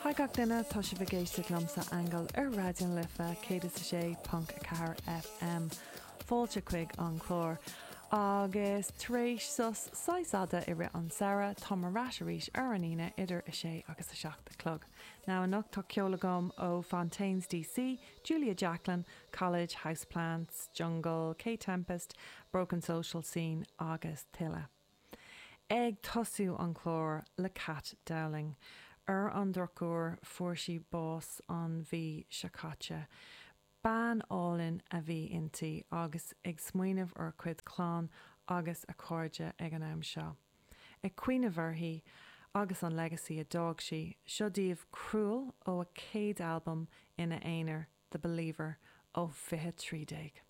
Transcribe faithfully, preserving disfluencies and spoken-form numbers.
Hi gach duine tá sibh ag éisteacht liomsa Aingeal ar Raidió na Life céad is a sé ponc a ceathair FM. Fáilte chuig an chlár. Agus tar éis sos saghas fada i rith an samhradh tá ar ais arís ar an Aoine idir a sé agus a seacht a chlog. Now anocht tá ceol agam ó Fontaines DC, Julia Jacklin, College, Houseplants, Jungle, Kae Tempest, Broken Social Scene agus tuilleadh. Ag tosú an chlár le Kat Dowling. Ar an drochuair fuair sí bás an mhí seo caite. Bean álainn a bhí inti agus ag smaoineamh ar cuid clann agus a cairde ag an am seo. Ag cuimhneamh uirthi agus an legacy a d'fhág sí, seo daoibh Cruel ó a céad albam ina aonar, The Believer ó fiche trí déag.